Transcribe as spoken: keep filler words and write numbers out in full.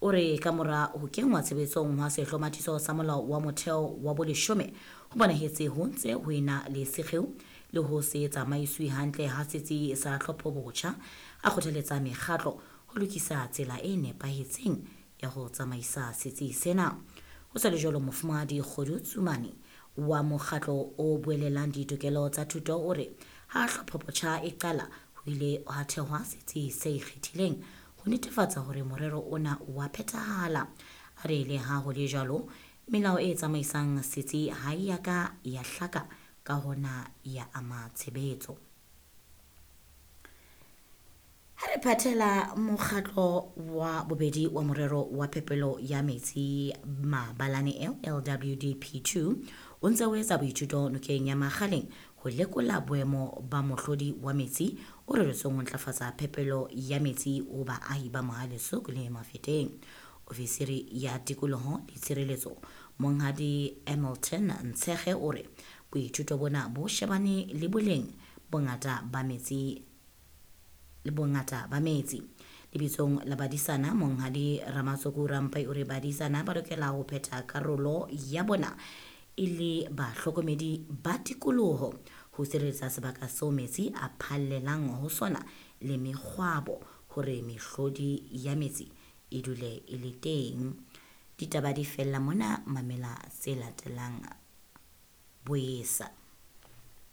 O re ka mora ho kenngwa tshebetsong hwa sehlomathiso sa molao wa motheo wa boleshome ho bonahetse ho ntse ho ena le sekgeo le ho se tsamaiswe hantle ha setsi sa tlhophobotjha. A kgothaletsa mekgatlo ho lokisa tsela e nepahetseng ya ho tsamaisa setsi sena. Ho sa le jwalo, Mofumahadi Kgodu Tsumani wa mokgatlo o buellang ditokelo tsa thuto o re ha tlhophobotjha e qala ho ile ha thehwa setsi se ikgethileng ho netefatsa hore morero ona wa phethahala. A re le ha ho le jwalo, melao e tsamaisang setsi ha e ya ka ya hlaka, ka hona ya ama tshebetso. Ha re phathela mokgatlo wa bobedi wa morero wa phepelo ya metsi Mabalane L L W D P two o ntse o etsa boithuto nokeng ya Makgaleng ho lekola boemo ba mohlodi wa metsi o reretsweng ho ntlafatsa phepelo ya metsi ho baahi ba Mohale'shoek le Mafeteng. Ofisiri ya tikoloho le tshireletso Monghadi Hamilton Ntshege o re boithuto bona bo shebane le boleng bongata ba metsi le bongata ba metsi. Lebitsong la badisana Monghadi Ramatsoku Rampai o re badisana ba lokela ho phetha karolo ya bona e le bahlokomedi ba tikoloho ho sireletsa sebaka seo metsi a phallelang ho sona le mekgwabo hore mehlodi ya metsi e dule e le teng. Ditaba di fella mona, mamela tse latelang boesa.